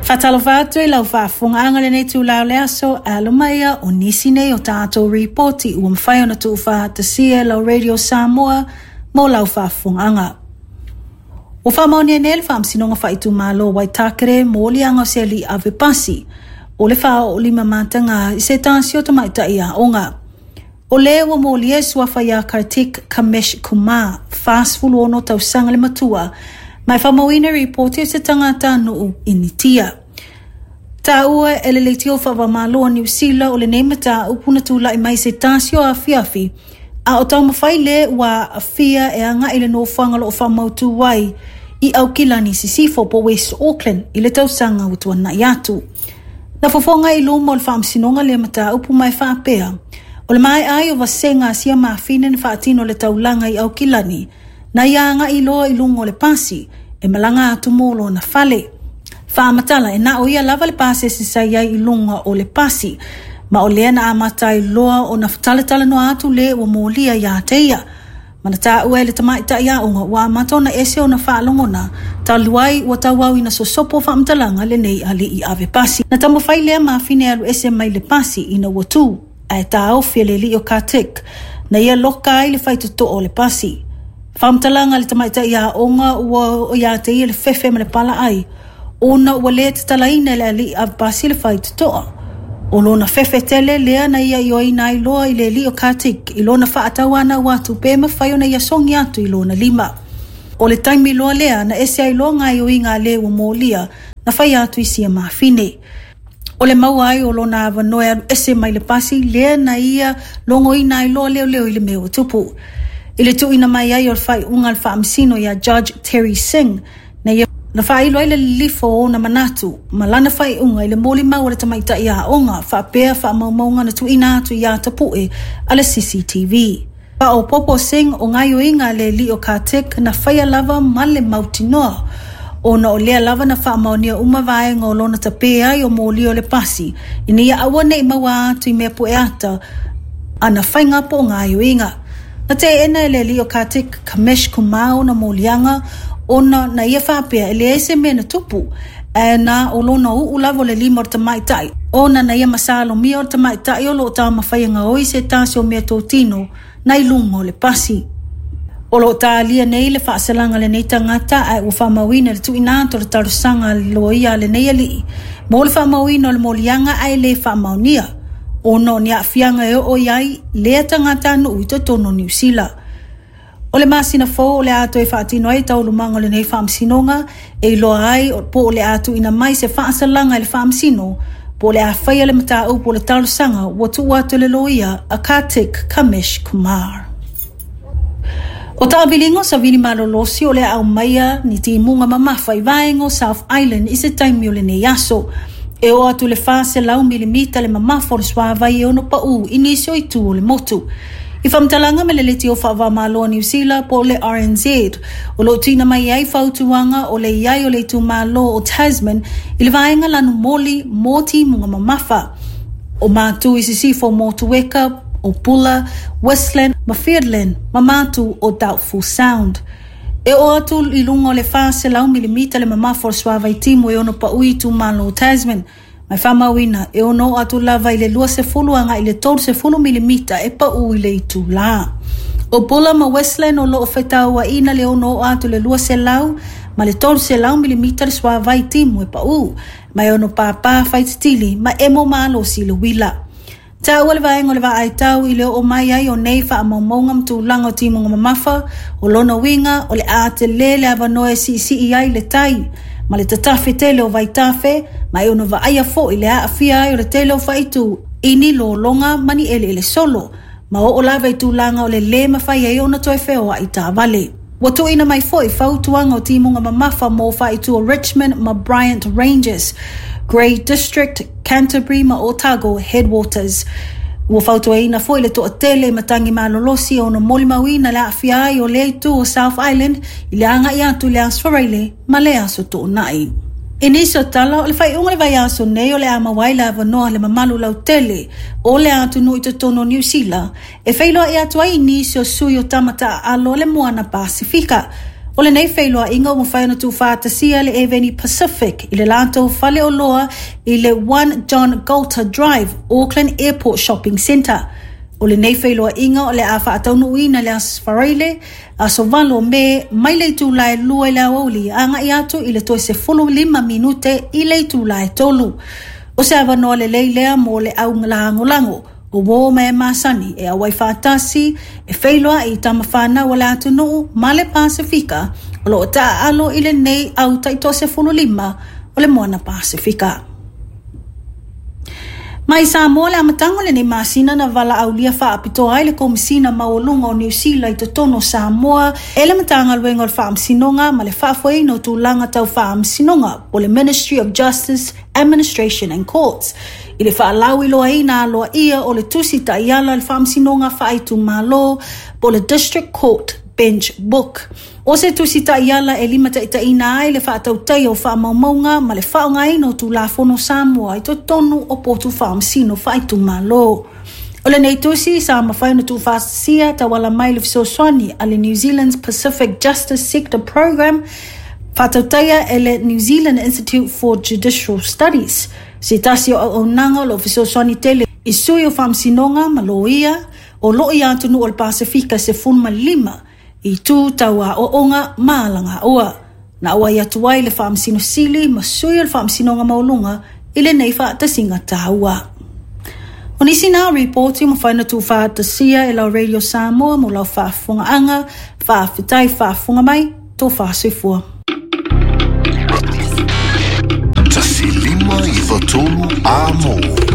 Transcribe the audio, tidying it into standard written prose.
Faatalofa atu i lau faafofogaaga i lenei itula o le aso, e alo mai ia o nisi nei o tatou ripoti ua mafai ona tuufaatasia e lau Radio Samoa mo lau faafofogaaga. Ua faamaonia nei le Faamasinoga Faaitumalo o Waitakere moliaga o se alii ave pasi o le faaoo lima mataga i se tasi o tamaitai aoga. O le ua molia e suafa ia Kartik Kamesh Kumar, 46 tausaga le matua, ma e faamauina ripoti o se tagatanuu Initia. Taua e le leitio faava-o-Malo o Niu Sila o lenei mataupu na tulai mai se tasi o afiafi, a o taumafai le ua aafia e agai le nofoaga o loo faamautu ai i Aukilani Sisifo po West Auckland i le tausaga ua tuanai atu. Na fofoga i luma o le faamasinoga lea mataupu ma e faapea, o le maea ai o vasega a sia mafine na faatino le taulaga i Aukilani, na ia agai loa i luga o le pasi, e malaga atu mo lona fale. Faamatala e na o ia lava le pasese sa i ai i luga o le pasi, ma o lea na amata ai loa ona talatalanoa atu le ua molia ia te ia. Ma na taua e le tamaitai aoga ua amata ona ese ona faalogona, talu ai ua tauau ina sosopo faamatalaga lenei alii ave pasi. Na taumafai lea mafine e alu ese mai le pasi ina ua tu, ae taofi e le alii o Kartik, na ia loka ai le faitotoo o le pasi. Faamatalaga a le tamaitai aoga ua oo ia te ia le fefe ma le palaai, ona ua le tatalaina e le alii ave pasi le faitotoa. O lona fefe tele lea na ia ioeina ai loa i le alii o Kartik i lona faatauanau atu pe mafai ona ia sogi atu i lona lima. O le taimi loa lea na ese ai loa gaoioiga a le ua molia na fai atu i sia mafine. O le maua ai o lona avanoa e alu ese mai le pasi lea na ia logoina ai loa leoleo i le mea ua tupu. I le tuuina mai ai o le faaiuga a le faamasino ia Judge Terry Singh, na ia na faailo ai le lilifo o ona manatu ma lana faaiuga i le molimau a le tamaitai aoga faapea faamaumauga na tuuina atu ia Tapue a le CCTV. Faaopoopo Singh o gaoioiga a le alii o Kartik na faia lava ma le mautinoa, ona o lea lava na faamaonia uma vaega o lona tapē ai o moli o le pasi, ina ia aua nei maua atu i mea pueata ana faiga po o gaoioiga. Na teena e le alii o Kartik Kamesh Kumar ona moliaga ona na ia faapea e leai se mea na tupu, ae na o lona uu lava o le lima o le tamaitai, ona na ia masalomia o le tamaitai o loo taumafai e gaoi se tasi o mea totino na i luga o le pasi. O loo talia nei le faasalaga a lenei tagata ae ua faamauina le tuuina atu o le talosaga a le loia a lenei alii mo le faamauina o le moliaga ae le faamaonia, ona o ni aafiaga e oo i ai lea tagatanuu i totonu o Niu Sila. O le masina fou o le a toe faatino ai taualumaga o lenei faamasinoga e iloa ai po o le a tuuina mai se faasalaga i le faamasino po o le a faia le mataupu o le talosaga ua tuu atu e le loia a Kartik Kamesh Kumar. O taaviliga o savili malolosi o le a aumaia ni timuga mamafa i vaega o South Island i se taimi o lenei aso. E oo atu i le 400 milimita le mamafa o le suavai e ono pau i nisi o itu o le motu. I faamatalaga ma le leitio faava-o-Malo a Niu Sila po o le RNZ, o lo o tuuina mai ai fautuaga o le i ai o le itumalo o Tasman i le vaega lanumoli mo timuga mamafa. O Matu i sisifo o Motueka, o Buller, Westland ma Fiordland ma Matu o Doubtful Sound. E oo atu i luga o le 400 milimita le mamafa o le suavai timu e ono pau i itumalo o Tasman, ma e faamauina e ono oo atu lava i le 20 agai i le 30 milimita e pau i le itula. O Buller ma Westland o loo fetauaina le ono oo atu i le 200 ma le 300 milimita le suavai timu e pau, ma e ono pāpā faititili ma emo malosi i le uila. Taua le vaega o le vaaitau i le oo mai ai o nei faamaumauga ma tulaga o timuga mamafa, o lona uiga o le a tele le avanoa e siisii ai le tai ma le tatafe tele o vaitafe, ma e ono vaaia foi le aafia ai o le tele o faaitu i ni lologa ma ni eleele solo, ma oo lava i tulaga o le lē mafai ai ona toe feoai taavale. Ua tuuina mai foi fautuaga o timuga mamafa mo faaitu o Richmond ma Bryant Ranges, Grey District, Canterbury ma Otago Headwaters. Ua fautuaina foi le toatele i matagi malolosi e ono molimauina le aafia ai o lea itu o South Island i le agai atu i le Aso Faraile ma le Aso Toonai. I nisi o tala, o le faaiuga o le vaiaso nei o le a maua ai le avanoa le mamalu lautele o le atunuu i totonu o Niu Sila e feiloai atu ai i nisi o sui o tama taaalo o le Moana Pasifika. O lenei feiloaiga ua mafai ona tuufaatasia e le Eveni Pacific i le latou faleoloa i le 1 John Goulter Drive, Auckland Airport Shopping Centre. O lenei feiloaiga o le a faataunuuina i le Aso Faraile, aso 8 o Me, mai le itula e 2 i le aoauli agai atu i le toe 15 minute i le itula e 3. O se avanoa lelei lea mo le au lagolago o uō ma e masani e auai faatasi e feiloai i tama fanau a le atunuu ma le Pasefika o lo o taaalo i lenei au taitoa-15 o le Moana Pasefika. Mai Samoa le amataga o lenei masina na valaaulia faapitoa ai le Komesina Maualuga o Niu Sila i totonu o Samoa e le Matagaluega o le Faamasinoga ma le Faafoeina o Tulaga Tau Faamasinoga po o le Ministry of Justice, Administration and Courts i le faalauiloaina aloaia o le Tusi Taiala a le Faamasinoga Faaitumalo po o le District Court Bench Book. O se tusi taiala e limataitaiina ai le faatautaia o faamaumauga ma le faaaogaina o Tulafono Samoa i totonu o potu faamasino faaitumalo. O lenei tusi sa mafai ona tuufaatasia tauala mai le fesoasoani a le New Zealand's Pacific Justice Sector Programme, faatautaia e le New Zealand Institute for Judicial Studies, se tasi o auaunaga o lo o fesoasoani tele i sui o faamasinoga ma loia o lo o i atunuu o le Pasefika e 15 i itu tau aoaoga ma alagaoa. Na auai atu ai le Faamasino Sili ma sui o le Faamasinoga Maualuga i lenei faatasiga taua. O nisi na o ripoti ua mafai ona tuufaatasia e lau Radio Samoa mo lau faafofogaaga. Faafetai faafofoga mai, tofa soifua. 1593 Amo.